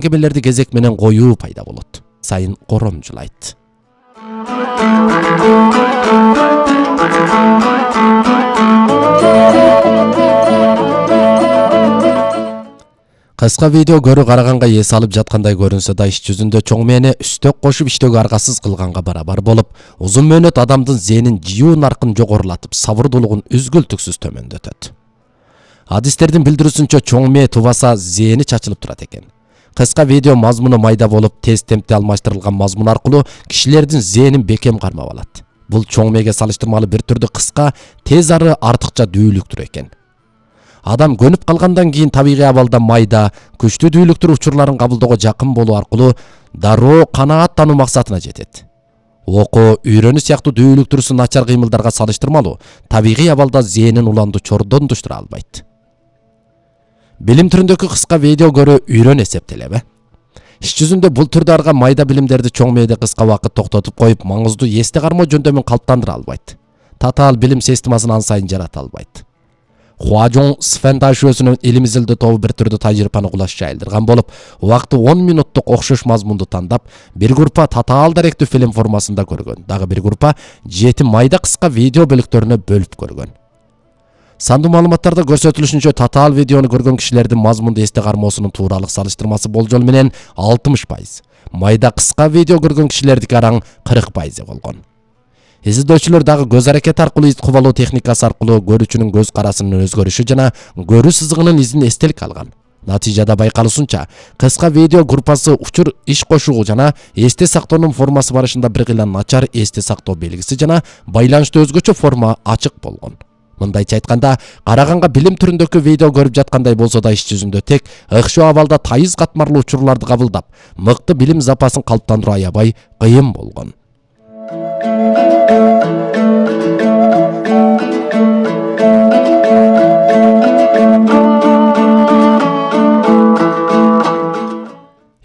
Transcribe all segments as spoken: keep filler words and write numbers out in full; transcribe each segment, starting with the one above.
кемелерди кезек менен коюу пайда болот. Сайын коромжулайт. Кыска видео көрүү караганга эс алып жаткандай көрүнсө да, иш жүзүндө чоң мээне үстөк кошуп иштөөгө аргасыз кылганга барабар болуп, узун мөөнөт адамдын зээнин жийүү наркын жогорулатып, сабырдуулугун үзгүлтүксүз төмөндөтөт. Адистердин билдирүүсүнчө чоң мээ тубаса зээни чачылып турат экен. Кыска видео мазмуну майда болуп, тез темпте алмаштырылган мазмун аркылуу кишилердин зээнин бекем кармап алат. Бул чоң мээге салыштырмалуу бир түрдүү кыска, тез ары артыкча дүүлүктүр экен. Адам көнүп калгандан кийин табигый абалда майда, күчтүү дүүлүктүр учурларын кабылдоого жакын болуу аркылуу дароо канааттануу максатына жетет. Окуу, үйрөнүү сыяктуу дүүлүктүрүсү начар кыймылдарга салыштырмалуу табигый абалда зээнин уланду чордондуштура албайт. Билим түрүндөгү кыска видео көрүү үйрөн эсептелеби? Иш жүзүндө бул түрдө арга майда билимдерди чоң мээде кыска убакыт токтотуп коюп, маңыздуу эсте кармоо жөндөмүн калыптандыра албайт. Татаал билим системасын ан сайын жарата албайт. Хуажоң Сфен ташуусунун илим изилдөө тобу бир түрдүү тажрыйбаны кулаш жайылдырган болуп, убакыты он минуттук окшош мазмунду тандап, бир группа татаал даректүү фильм формасында көргөн, дагы бир группа жети майда кыска видео бөлүктөрүнө бөлүп көргөн. Сандуу маалыматтарда көрсөтүлүшүнчө, татаал видеону көргөн кишилердин мазмунду эсте кармоосунун тууралык салыштырмасы болжол менен алтымыш пайыз, майда кыска видео көргөн кишилердики араң кырк пайыз болгон. Изилдөөчүлөр дагы көз аракети аркылуу из кубалоо техникасы аркылуу көрүүчүнүн көз карасынын өзгөрүшү жана көрүү сызыгынын изин эстелик алган. Натыйжада байкалуусунча, кыска видео группасы учур иш кошуу жана эсте сактоонун формасы барышында бир кыйла начар эсте сактоо белгиси жана байланышты өзгөчө форма ачык болгон. Мындайча айтканда, караганга билим түрүндөгү видео көрүп жаткандай болсо да, иш жүзүндө тек ыкшоо абалда тайыз катмарлуу учурларды кабылдап, мыкты билим запасын калыптандыруу аябай кыйын болгон.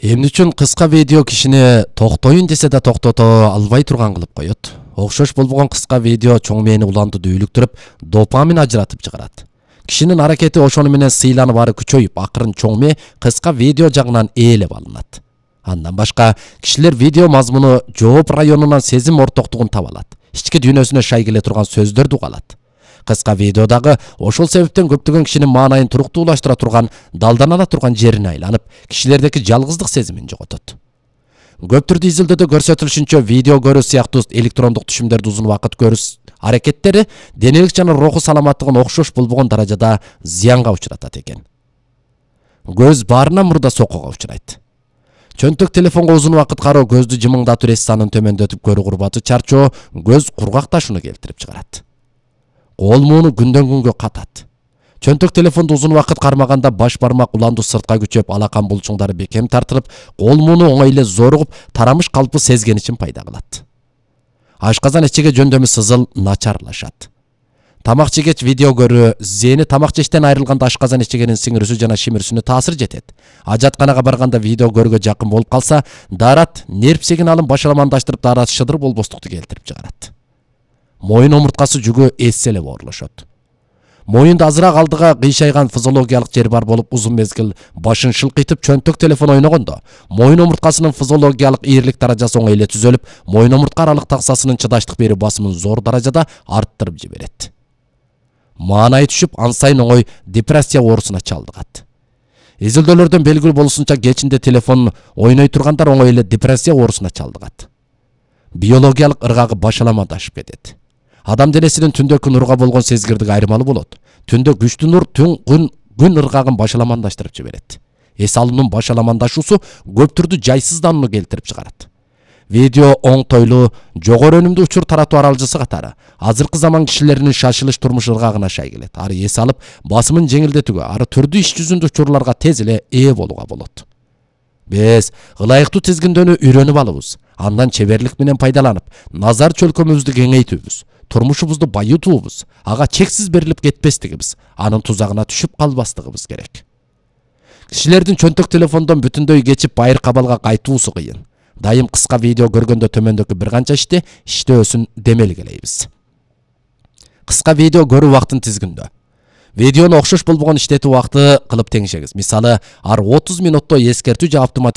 Эмне үчүн кыска видео кишини токтоюн десе да токтото албай турган кылып коет? Окшош болбогон кыска видео чоң мээни уланды дүүлүктүрүп, допамин ажыратып чыгарат. Кишинин аракети ошону менен сыйланып ары күчөйүп, акырын чоң мээ кыска видео жагынан ээлеп алынат. Андан башка, кишилер видео мазмуну жооп районунан сезим ортоктугун таба алат. Ички дүйнөсүнө шай келе турган сөздөрдү угалат. Кыска видеодагы ошол себептен көптөгөн кишинин маанайын туруктуулаштыра турган, далданала турган жерине айланып, кишилердеки жалгыздык сезимин жоготот. Көп түрдүү изилдөөдө көрсөтүлүшүнчө, видео көрүү сыяктуу электрондук түшүмдөрдү узун убакыт көрүү аракеттери денелик жана руху саламаттыгын окшош болбогон даражада зыянга учуратат экен. Көз баарынан мурда соккуга учурайт. Чөнтөк телефонго узун убакыт кароо көздү жымыңдатып, эс санын төмөндөтүп, көрүү курбаты чарчоо, көз кургакташууну келтирип чыгарат. Кол мууну күндөн күнгө катат. Чөнтөк телефонду узун убакыт кармаганда баш бармак уланду сыртка күчөп, алакан булчуңдары бекем тартылып, кол мууну оңой эле зоругуп, тарамыш калпы сезгеничин пайда кылат. Ашказан ичиге жөндөмү сызыл начарлашат. Тамак жегеч видео көрүү, зээни тамак жештен айрылганда ашказан ичигенин сиңирүүсү жана шимирүүсүнө таасир жетет. Ажатканага барганда видео көрүүгө жакын болуп калса, даарат нерв сигналын башаламандаштырып, даарат шыдыр болбостукту келтирип чыгарат. Моюн омурткасы жүгү эсселеп оорлошот. Моюнда азыраак алдыга кыйшайган физиологиялык жер бар болуп, узун мезгил башын шылкыйтып чөнтөк телефон ойногондо, моюн омурткасынын физиологиялык ийирлик даражасы оңой эле түзөлүп, моюн омуртка аралык таксасынын чыдаштык берүү басымын зор даражада арттырып жиберет. Маанайы түшүп, ан сайын оңой депрессия оорусуна чалдыгат. Изилдөөлөрдөн белгилүү болушунча, кечинде телефон ойной тургандар оңой эле депрессия оорусуна чалдыгат. Биологиялык ыргагы башаламандашып кетет. Адам денесинин түндөгү нурга болгон сезгирдиги айырмалуу болот. Түндө күчтүү нур түн күн күн ыргагын башаламандаштырып жиберет. Эс алуунун башаламандашуусу көп түрдүү жайсызданууну келтирип чыгарат. Видео оңтойлуу, жогору өнүмдүү учур таратуу аралжысы катары азыркы заман кишилеринин шашылыш турмуш ыргагына шай келет. Ары эс алып, басымын жеңилдетүүгө, ары түрдүү иш жүзүндө учурларга тез эле ээ болууга болот. Биз ылайыктуу тизгиндөөнү үйрөнүп алабыз. Андан чеберлик менен пайдаланып, назар чөлкөмүбүздү кеңейтүүбүз, турмушубузду байытуубуз, ага чексиз берилип кетпестигибиз, анын тузагына түшүп калбастыгыбыз керек. Кишилердин чөнтөк телефондон бүтүндөй кечип байыр кабалга кайтуусу кыйын. Дайым кыска видео көргөндө төмөндөгү бир канча ишти иштөөсүн демелгелейбиз. Кыска видео көрүү убактын тизгиндөө. видеону окшош болбогон иштетүү убакыты кылып теңшеңиз. Мисалы, ар отуз минутта эскертүү же автоматик